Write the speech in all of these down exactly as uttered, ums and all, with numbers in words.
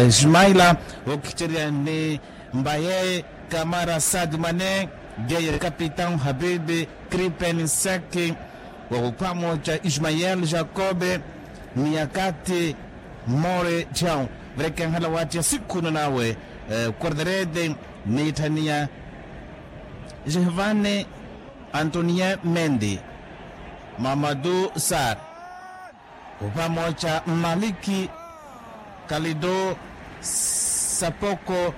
Ismaila, wookhicerya ni mbaye kamara sadmane, yeye kapitau habibi kripeni seki, wookhupha mooca ismael jakobe, ni akati more thyau, verekenhala waattiya sikhuna nawe, korderede, ni itthaniya jehvane, antonien mendi, mamadu sar, opamooca mmaliki, kalido, sapoko,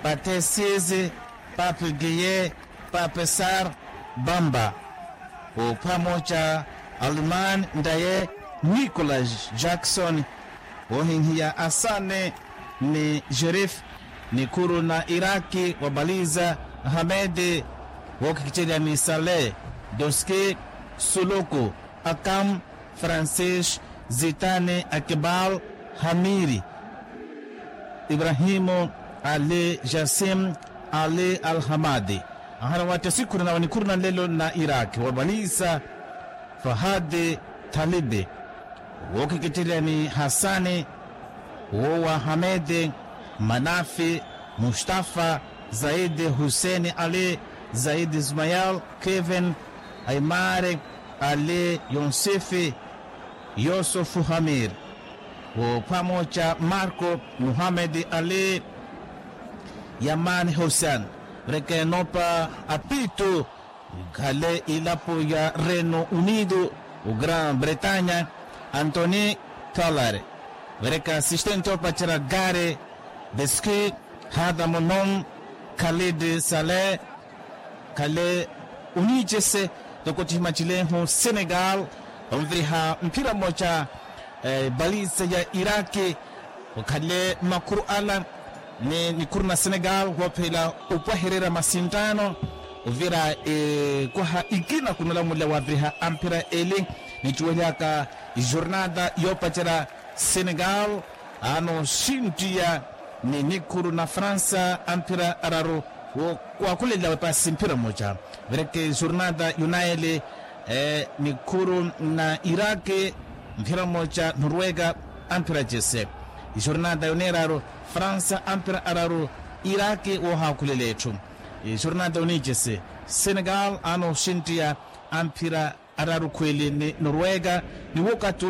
patesisi, pape giye, pape sar, bamba, opamooca alman ndaye, nikolas jackson, wohinhiya asane, ni jerif, nikhuru na iraki wa baliza, hamedi, wookhikicerya ni sale, doski, suluku, akam, francis, zitani, akibal, hamiri, ibrahimu, ali, jasim, ali, alhamadi, ahana watta sikhuna nawe nikhuru na nlelo na iraki wa baliza, fahadi, thalibi, wookhikicerya ni hasani, woowa hamedi, manafi, mustafa, zaidi, huseni, ali, zaidi, ismael, kevin, aimari, ali, yonsifi, yosufu, hamir, woophwamooca marko, muhamedi, ali, yamani, hosean, reke nopa, apitu, khale ilapo ya reno unido, o gran bretanya, antoni, kalare, vereka asistente opacerya gare, deski, hadamonom, khalidi sale, khale, unicese, toko tihimacelehu senegal, onviriha mphira moca, baliza ya iraki, okhale makhuru ala, ni nikhuru na senegal woophela, opwahererya masintano, ovira ekwaha ikina khunolamulela waviriha amphira eli, nittuwelyaka, ijornada yoopacerya, senegal, anooxintiya, ni nikhuru na fransa amphira araru, wookwaakulela wepasi mphira moca, vereke ijornada yunaeli, nikhuru na iraki, mphira moca norwega, amphira cese, ijornada yoneeraru, fransa amphira araru, iraki woohaakhulela etthu, ijornada yonicese, senegal anooxintiya, amphira araru khweli ni norwega, ni wokati.